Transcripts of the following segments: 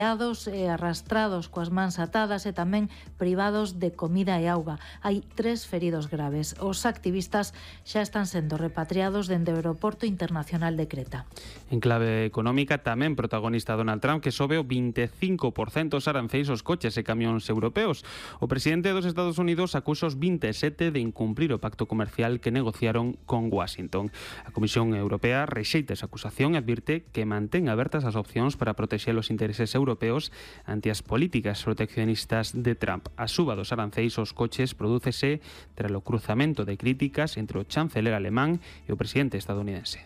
e arrastrados coas mans atadas e tamén privados de comida e auga. Hai 3 feridos graves. Os activistas xa están sendo repatriados dende o Aeroporto Internacional de Creta. En clave económica, tamén protagonista Donald Trump, que sobe o 25% os aranceis aos coches e camións europeos. O presidente dos Estados Unidos acusa os 27 de incumprir o pacto comercial que negociaron con Washington. A Comisión Europea rexeita esa acusación e advirte que mantén abertas as opcións para protexer os intereses europeos ante as políticas proteccionistas de Trump. A suba dos aranceis aos coches prodúcese tras o cruzamento de críticas entre o chanceler alemán e o presidente estadounidense.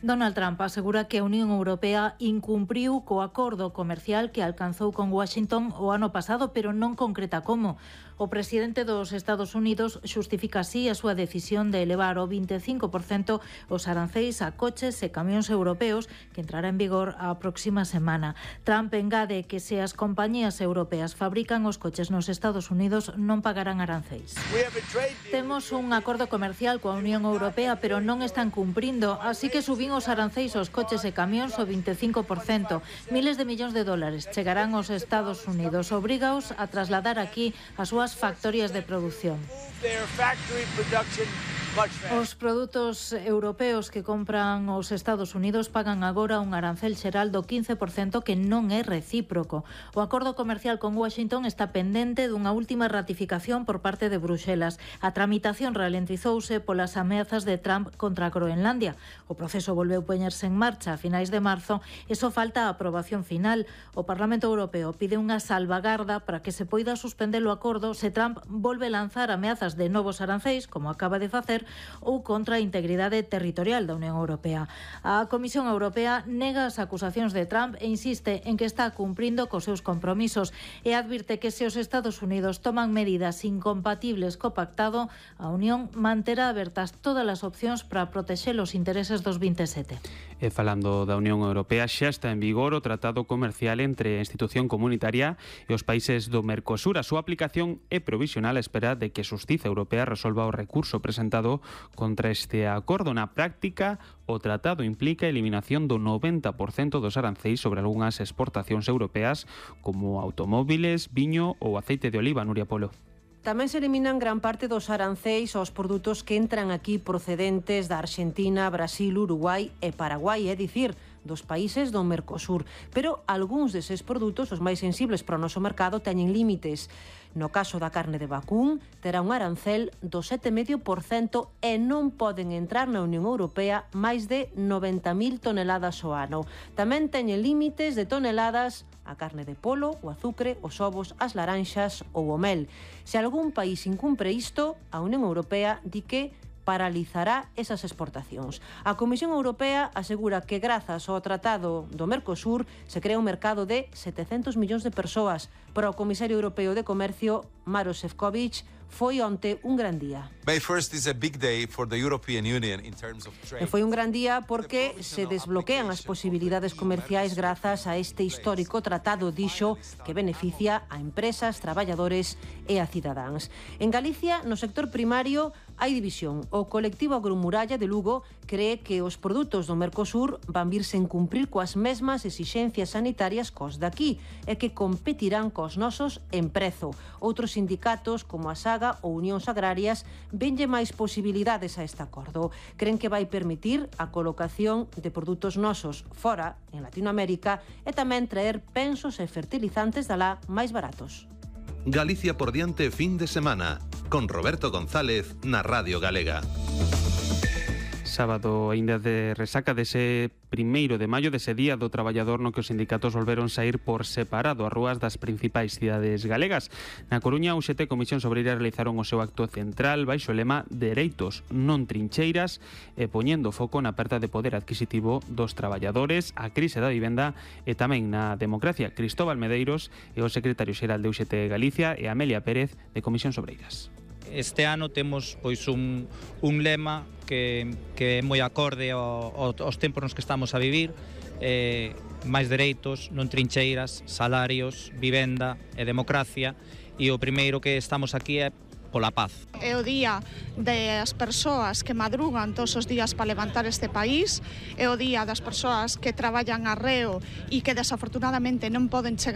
Donald Trump asegura que a Unión Europea incumpriu co acordo comercial que alcanzou con Washington o ano pasado, pero non concreta como. O presidente dos Estados Unidos xustifica así a súa decisión de elevar o 25% os aranceis a coches e camións europeos que entrará en vigor a próxima semana. Trump engade que se as compañías europeas fabrican os coches nos Estados Unidos non pagarán aranceis. Temos un acordo comercial coa Unión Europea, pero non están cumprindo, así que subín os aranceis aos coches e camións o 25%. Miles de millóns de dólares chegarán aos Estados Unidos. Obrígaos a trasladar aquí as súas factorías de produción. Os produtos europeos que compran os Estados Unidos pagan agora un arancel xeral do 15% que non é recíproco. O acordo comercial con Washington está pendente dunha última ratificación por parte de Bruxelas. A tramitación ralentizouse polas ameazas de Trump contra Groenlandia. O proceso volveu poñerse en marcha a finais de marzo e só falta a aprobación final. O Parlamento Europeo pide unha salvagarda para que se poida suspender o acordo se Trump volve lanzar ameazas de novos aranceis, como acaba de facer, ou contra a integridade territorial da Unión Europea. A Comisión Europea nega as acusacións de Trump e insiste en que está cumprindo cos seus compromisos e advirte que se os Estados Unidos toman medidas incompatibles co pactado, a Unión manterá abertas todas as opcións para protexer os intereses dos 27. E falando da Unión Europea, xa está en vigor o tratado comercial entre a institución comunitaria e os países do Mercosur. A súa aplicación é provisional á espera de que a Xustiza Europea resolva o recurso presentado contra este acordo. Na práctica, o tratado implica a eliminación do 90% dos aranceis sobre algunhas exportacións europeas como automóviles, viño ou aceite de oliva. Nuria Polo. Tamén se eliminan gran parte dos aranceis aos produtos que entran aquí procedentes da Arxentina, Brasil, Uruguai e Paraguai, é dicir, dos países do Mercosur. Pero algúns deses produtos, os máis sensibles para o noso mercado, teñen límites. No caso da carne de vacún, terá un arancel do 7,5% e non poden entrar na Unión Europea máis de 90.000 toneladas ao ano. Tamén teñen límites de toneladas a carne de polo, o azucre, os ovos, as laranxas ou o mel. Se algún país incumpre isto, a Unión Europea di que paralizará esas exportacións. A Comisión Europea asegura que grazas ao Tratado do Mercosur se crea un mercado de 700 millóns de persoas. Para o Comisario Europeo de Comercio, Maroš Šefčovič, foi onte un gran día. E foi un gran día porque se desbloquean as posibilidades comerciais grazas a este histórico tratado, dixo, que beneficia a empresas, traballadores e a cidadáns. En Galicia, no sector primario, hai división. O colectivo Agromuralla de Lugo cree que os produtos do Mercosur van vir sen cumprir coas mesmas exixencias sanitarias cos daqui e que competirán cos nosos en prezo. Outros sindicatos, como a SAGA ou Unións Agrarias, venlle máis posibilidades a este acordo. Creen que vai permitir a colocación de produtos nosos fora, en Latinoamérica, e tamén traer pensos e fertilizantes dalá máis baratos. Galicia por diante fin de semana, con Roberto González na Radio Galega. Sábado aínda de resaca dese 1º de maio, dese día do traballador no que os sindicatos volveron saír por separado ás rúas das principais cidades galegas. Na Coruña, UGT e Comisión Obreira realizaron o seu acto central baixo o lema Dereitos, non trincheiras, e poñendo foco na perda de poder adquisitivo dos traballadores, a crise da vivenda e tamén na democracia. Cristóbal Medeiros e o secretario xeral de UGT Galicia e Amelia Pérez de Comisións Obreiras. Este ano temos pois un lema que é moi acorde aos tempos nos que estamos a vivir, máis dereitos, non trincheiras, salarios, vivenda e democracia, e o primeiro que estamos aquí é pola paz. É o día das persoas que madrugan todos os días para levantar este país, é o día das persoas que traballan arreo e que desafortunadamente non poden chegar